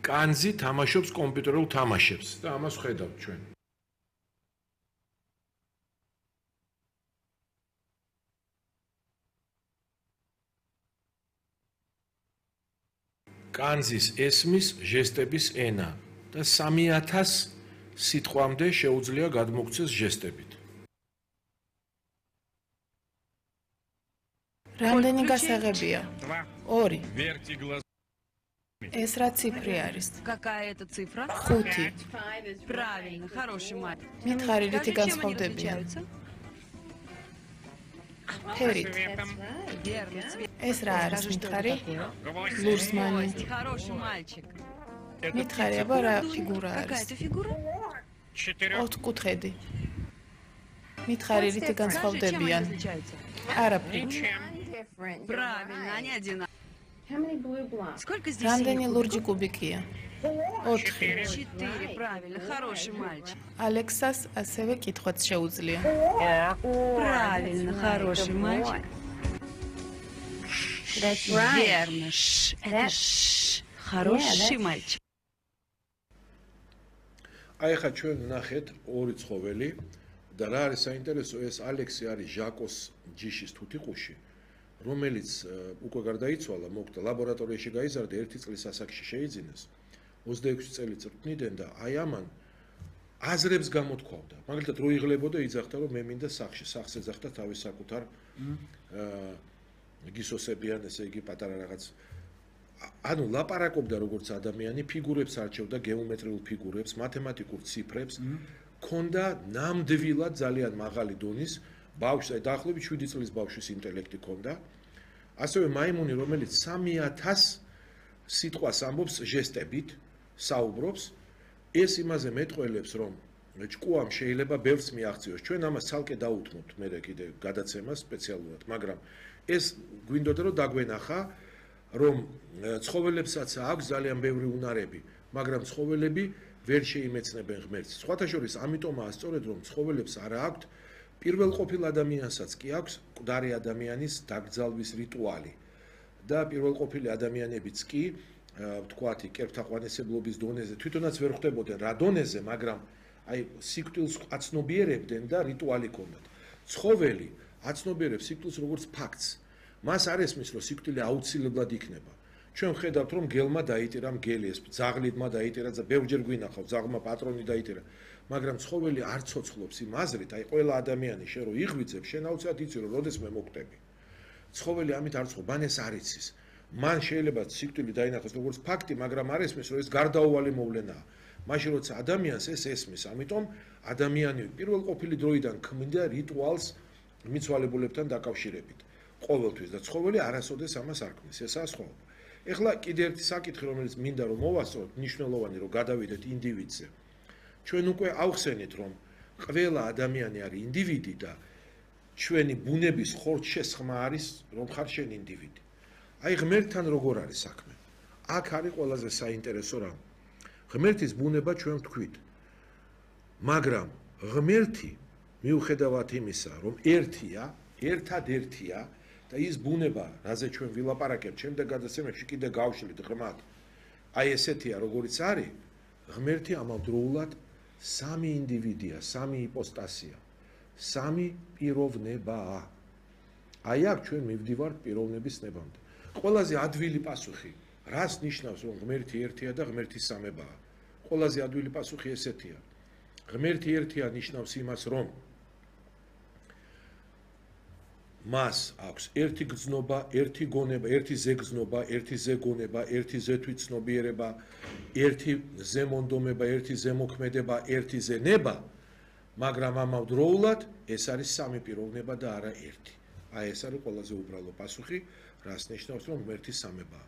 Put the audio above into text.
კანძი თამაშობს კომპიუტერულ თამაშებს და ამას ხედავთ ჩვენ. კანძის ესმის ჟესტების ენა და 3000 სიტყვამდე შეუძლია გადმოგვცეს ჟესტებით. რამდენი გასაღებია? 2. ეს რა ციფრი არის? Какая это цифра? 5. Правильно, хороший мальчик. მითხარი რითი განსხვავდებიან? ფერით. Верно, цвет. ეს რა არის მითხარი? ლურსმანი. Хороший мальчик. მითხარი აბა რა ფიგურა Какая არის? это фигура? 4 მითხარი რითი Скажи, чем они განსხვავდებიან? отличаются? არაფრით. Правильно, они одинаковые. Сколько здесь რამდენი синих ლურჯი კუბიკია? 4. 4, правильно, хороший мальчик. ალექსას ასევე კითხვაც შეუძლია. Правильно, хороший мальчик. Верно, это хороший мальчик. აი ხა ჩვენ ნახეთ ორი ცხოველი და რა არის საინტერესო, ეს ალექსი არის ჟაკოს ჯიშის თუთიყუში, რომელიც უკვე გარდაიცვალა, მოკვდა ლაბორატორიაში გაიზარდა 1 წლის ასაკში შეიძინეს. 26 წელი წვრთნიდან და აი ამან აზრებს გამოთქვავდა. მაგალითად რო იღლებოდა იძახდა რომ მე მინდა სახს ეძახდა თავის საკუთარ გისოსებიან, ესე იგი პატარა რაღაც ანუ ლაპარაკობდა როგორც ადამიანი, ფიგურებს არჩევდა, გეომეტრიულ ფიგურებს, მათემატიკურ ციფრებს, ქონდა ნამდვილად ძალიან მაღალი დონის ბავშვს, დაახლოებით 7 წლის ბავშვის ინტელექტი ქონდა. ასევე მაიმუნი, რომელიც 3000 სიტყვას ამბობს ჟესტებით, საუბრობს, ეს იმაზე მეტყველებს, რომ ჭკუამ შეიძლება ბევრს მიაღწიოს. ჩვენ ამას ცალკე დაუთმობთ მე კიდე გადაცემას სპეციალურად, მაგრამ ეს გვინდოდა რომ დაგვენახა, რომ ცხოველებსაც აქვს ძალიან ბევრი უნარები, მაგრამ ცხოველები ვერ შეიმეცნებენ ღმერთს. სხვათა შორის ამიტომაა სწორედ რომ ცხოველებს არა აქვთ პირველყოფილ ადამიანსაც კი აქვს მკვდარი ადამიანის დაკრძალვის რიტუალი და პირველყოფილი ადამიანებიც კი ვთქვათ კერპთაყვანისებლობის დონეზე თვითონაც ვერ ხვდებოდნენ რა დონეზე, მაგრამ აი სიკვდილს აცნობიერებდნენ და რიტუალი ქონდათ. ცხოველი აცნობიერებს სიკვდილს როგორც ფაქტს. მას არ ესმის რომ სიკვდილი აუცილებლად იქნება. ჩვენ ხედავთ რომ გელმა დაიტირა მგელი, ეს ძაღლიდმა დაიტირა, ბევრჯერ გვინახავ ძაღლმა პატრონი დაიტირა, მაგრამ ცხოველი არ ცოცხლობს იმ აზრით, აი ყველა ადამიანი შენ რო იღვიძებ, შენ აუცილებლად იცი რომ როდესმე მოკვდები. ცხოველი ამით არ ცხობ, მან ეს არ იცის. მან შეიძლება სიკვდილი დაინახოს როგორც ფაქტი, მაგრამ არ ესმის რომ ეს გარდაუვალი მოვლენაა. მაშინ როცა ადამიანს ეს ესმის, ამიტომ ადამიანი პირველყოფილი დროიდან ქმნიდა რიტუალს მიცვალებულებთან დაკავშირებით. ყოველთვის და ცხოველი არასოდეს ამას არ ქმნის, ესაა სხვაობა. ეხლა კიდე ერთი საკითხი, რომელიც მინდა რომ მოვასწროთ, მნიშვნელოვანი რომ გადავიდეთ ინდივიდზე. ჩვენ უკვე ავხსენეთ, რომ ყველა ადამიანი არის ინდივიდი და ჩვენი ბუნების ხორცშესხმა არის, რომ ხარ შენ ინდივიდი. აი ღმერთთან როგორ არის საქმე? აქ არის ყველაზე საინტერესო რამ. ღმერთის ბუნება ჩვენ ვთქვით. მაგრამ ღმერთი მიუხედავად იმისა, რომ ერთია, ერთადერთია და ის ბუნება, რაზე ჩვენ ვილაპარაკებთ, შემდეგ გადაცემებში კიდე გავშლით ღრმად. აი ესეთია, როგორიც არის, ღმერთი ამავდროულად სამი ინდივიდია, სამი იპოსტასია, სამი პიროვნებაა. აი აქ ჩვენ მივდივართ პიროვნების ნებამდე. ყველაზე ადვილი პასუხი, რას ნიშნავს, რომ ღმერთი ერთია და ღმერთი სამებაა? ყველაზე ადვილი პასუხი ესეთია. ღმერთი ერთია ნიშნავს იმას, რომ მას აქვს ერთი გრძნობა, ერთი გონება, ერთი ზეგრძნობა, ერთი ზეგონება, ერთი ზეთვითცნობიერება, ერთი ზემონდომება, ერთი ზემოქმედება, ერთი ზენება, მაგრამ ამავდროულად ეს არის სამი პიროვნება და არა ერთი. აი ეს არის ყველაზე უბრალო პასუხი, რას ნიშნავს, რომ ღმერთი სამებაა.